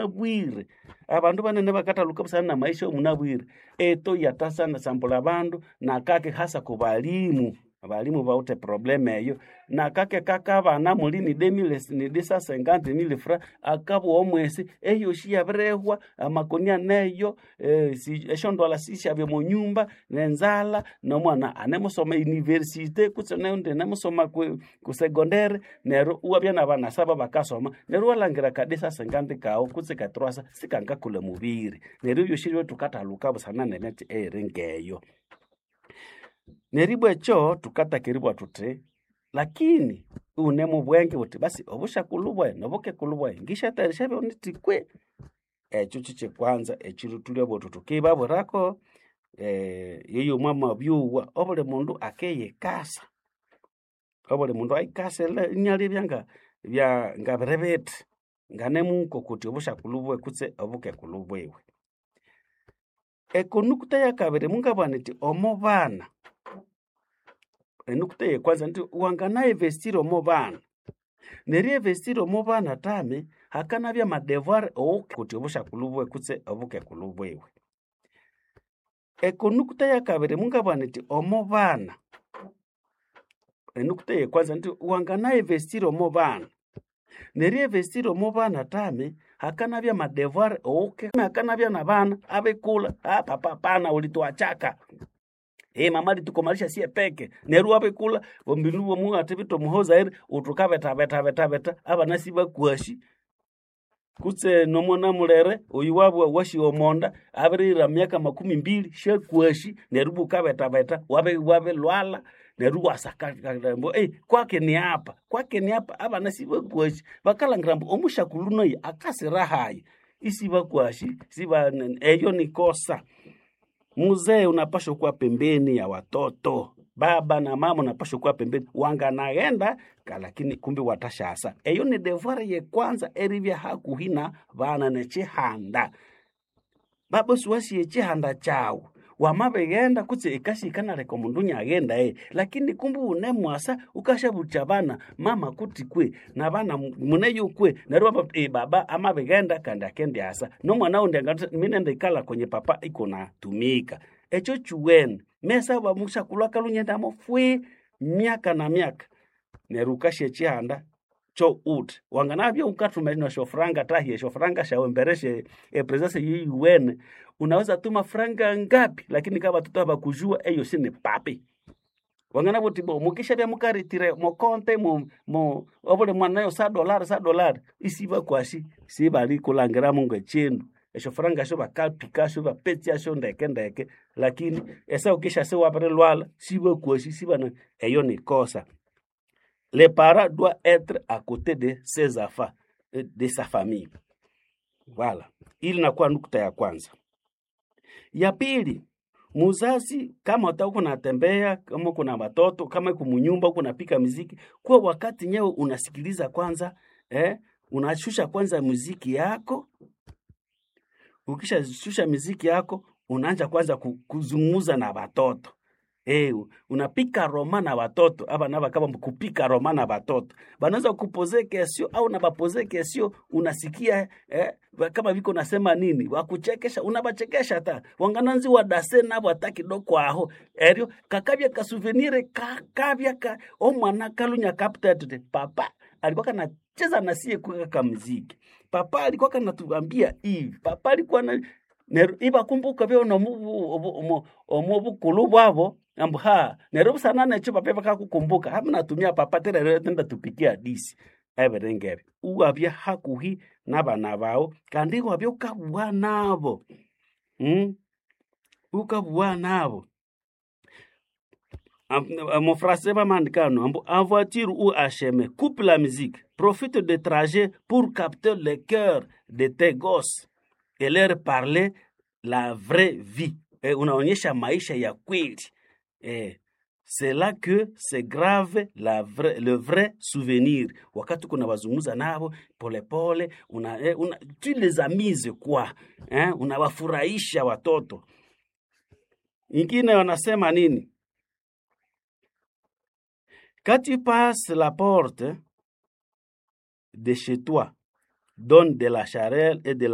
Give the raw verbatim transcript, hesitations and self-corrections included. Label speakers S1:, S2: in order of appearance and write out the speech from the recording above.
S1: Bwire abandu banene bakathaluka busana na maisha omunabwire eto yatasana abandu nakake hasa ku balimu abalimu bawithe problem eyo nakake kakabana muli ni deux mille ni deux cent cinquante mille francs akabugha omwesi eyosi yabirihwa amakoni aneyo eh, si- esyondwalha sisyabya omo nyumba nenzalha nomwana anemusoma university kutse neundi anemusoma ku ku secondary neryo iwabya nabana saba bakasoma neryo iwalhangira ka deux cent cinquante kawu kutse ka trois cents sikangakolha mubiri neryo ebyosi ebyo thukathaluka busana nemiti eyiri ngeyo neribwa ekyo thukatakiribwa eribugha thuthi lakini iwune mubwenge wuthi basi obusyakulhu bwayi nobukekulhu bwayi ngisyathayarisya byonithi kwe ekyo kyikyekwanza ekyiru thulyabuwa thuthi thukibabwirako eh, yoyo mwamabyuwa obuli mundu akiyikasa obuli mundu ayikase inalebya nga bya ngabiri bithi nganemuko kuthi obusyakulhu bwiwe kutse obukekulhu bwiwe ekonukta yakabiri mungabugha nithi omo bana enukta eyekwanza nti wanganainvestira omo bana neryo investira omo bana tami hakanabya amadevoir kuthi obusyakulhu bwiwe kutse obukekulhu bwiwe ekonukta yakabiri mungabugha nithi omo bana enukta eyekwanza nti wanganainvestira omo bana neryo investira omo bana tami hakanabya amadevoir owuke hakanabya nabana abikulha ah papa pana ulituachaka Eh mama alitukomalisha sie peke neryo wabikulha ombinu bwomu athibitha omuhozaire uthi ukabetha betha betha betha abana sibakwasi kutse nomwana mulere oyu wabwa washiwa omonda abirihira myaka makumi mbili syakwasi neryo ibwa ukabethabetha wabi wabilwalha neryo iwasaka ambu eh, kwake ni hapa kwake ni hapa abana sibakwasi bakalhangira ambu omusyakulhu nayi akasira hayi isibakwasi siba eyo ni kosa muzee unapashwa kuwa pembeni ya watoto baba na mama unapashwa kuwa pembeni wanganaghenda lakini kumbe watashasa eyo ni devoir yekwanza eribya hakuhi na bana nekyihanda baba siwasiye ekyihanda kyawu wamabighenda kutse ekasi ikanaleka omundu inyaghenda eh lakini kumbe wunemwasa ukashabutya bana mama kuti kwe nabana muneyo kwe neryo baba eh, baba amabighenda kandi akendyasa nomwana wundi angathi minende ikalha kwenye papa iko natumika ekyo kyuwene mesa bamusyakulhu akalhunyendamo fwi myaka na myaka neryo wukasya ekyihanda kyo uthi wanganabya wukathuma nesyofuranga tahi esyofuranga syawu embere sye epresence yeyuwene unaweza tuma franga ngapi lakini kama batoto habakujua eyo si ni papi wanganabugha wuthi bo mukishabya mukaretire mokonte mu mu obuli mwana nayo sa dolari sa dolari isibakwasi sibalikulhangiramu ngekyindu esyofuranga esyo bakapikasyo bapetsasyo ndeke ndeke lakini esaha wukishyasa iwabirilhwalha sibakwasi sibana eyo ni kosa le parent doit être à côté de ses enfants de sa famille voilà ili nakuwa nukta ya kwanza ya pili muzazi kama uta uko natembea kama kuna watoto kama uko munyumba uko napika muziki kuwa wakati nyewe unasikiliza kwanza eh, unashusha kwanza muziki yako ukishashusha muziki yako unaanza kwanza ku- kuzungumza na watoto Eh, unapika roma na watoto aba naba kama kupika roma na watoto banaweza kupoze kesio au na bapoze kesio unasikia eh, kama viko nasema nini wakuchekesha unabachekesha hata wangananzi wadase nabo hata kidogo aho eryo kakabya kasouvenir kakabya ka omwana kalunya kapta tete papa alikuwa kanacheza na sie kwa kamuziki papa alikuwa kanatuambia hivi papa alikuwa na neryo ibakumbuka byo omu bukulu bwabo ambu ha neryo busana nekyo papa bakakukumbuka hama natumia papa terero tenda tupikia disi ebiringebyo iwabya hakuhi nabana bawu kandi iwabya ukabugha nabo mm? ukabugha nabo Mon français va mandikano ambu en voiture ou à chemin coupe la musique profite de trajet pour capter le cœur de tes gosses et leur parler la vraie vie eh, unaonyesha maisha ya kweli eh, c'est là que c'est grave la vrai, le vrai souvenir wakati kuna wazungumza nabo polepole una, eh, una, tu les amuses quoi eh, unawafurahisha watoto ingine wanasema nini quand tu passes la porte de chez toi donne de la chaleur et de la